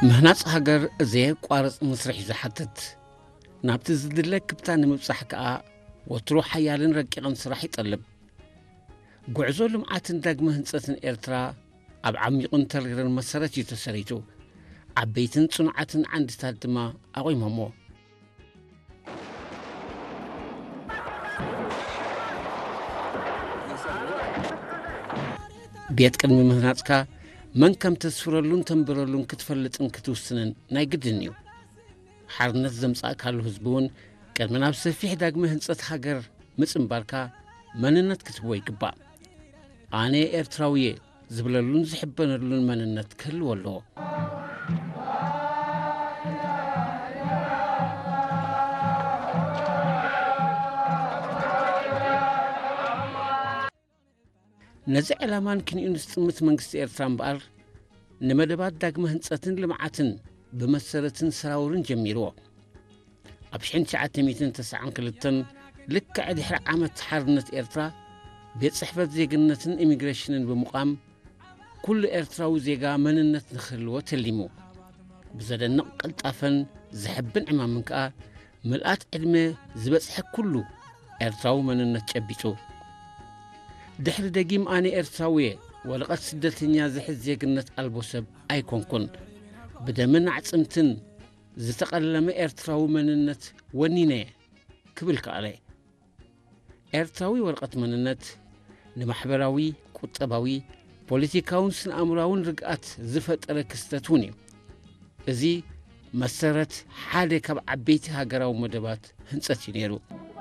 ምህናጽ ሃገር ዘየቋርጽ መስርሕ እዩ ዝሓትት። ናብቲ ዝድለ ክብታ ንምብጻሕ ከኣ ወትሩ ሓያልን ረቂቕን ስራሕ ይጠልብ። ጉዕዞ ልምዓትን ዳግመ ህንጸትን ኤርትራ ኣብ ዓሚቑን ተሪርን መሰረት እዩ ተሰሪቱ። ዓበይትን ጽኑዓትን ዓንድታት ድማ ኣቑሞሞ። ቤት ቅድሚ ምህናጽካ መን ከም ተስፍረሉን ተንብረሉን ክትፈልጥን ክትውስንን ናይ ግድን እዩ። ሓርነት ዘምጻእካሉ ህዝቢ እውን ቅድሚ ናብ ሰፊሕ ዳግመ ህንጸት ሃገር ምጽንባርካ መንነት ክትህቦ ይግባእ። ኣነ ኤርትራዊ እየ ዝብለሉን ዝሕበነሉን መንነት ክህልዎ ኣለዎ። ነዚ ዕላማን ክንዩን ዝጥምት መንግስቲ ኤርትራ እምበኣር፣ ንመደባት ዳግመ ህንጸትን ልምዓትን ብመሰረትን ሰራውርን ጀሚርዎ። ኣብ ሽሕን ትሽዓተ ሚእትን ተስዓን ክልተን ልክዕ ድሕሪ ዓመት ሓርነት ኤርትራ፣ ቤት ጽሕፈት ዜግነትን ኢሚግሬሽንን ብምቋም፣ ኩሉ ኤርትራዊ ዜጋ መንነት ንክህልዎ ተሊሙ። ብዘደንቕ ቅልጣፈን ዘሕብን ዕማምን ከኣ፣ ምልኣት ዕድመ ዝበጽሐ ኩሉ ኤርትራዊ መንነት ጨቢጡ። ድሕሪ ደጊም ኣነ ኤርትራዊ እየ፣ ወረቐት ስደተኛ ዝሕዝ ዜግነት ኣልቦ ሰብ ኣይኮንኩን፣ ብደምን ኣዕጽምትን ዝተቐለመ ኤርትራዊ መንነት ወኒነ እየ ክብል ከኣለ። ኤርትራዊ ወረቐት መንነት ንማሕበራዊ፣ ቁጠባዊ፣ ፖለቲካውን ስነ-ኣእምሮኣውን ርግኣት ዝፈጠረ ክስተት እውን እዩ። እዚ መሰረት ሓደ ካብ ዓበይቲ ሃገራዊ መደባት ህንጸት እዩ ነይሩ።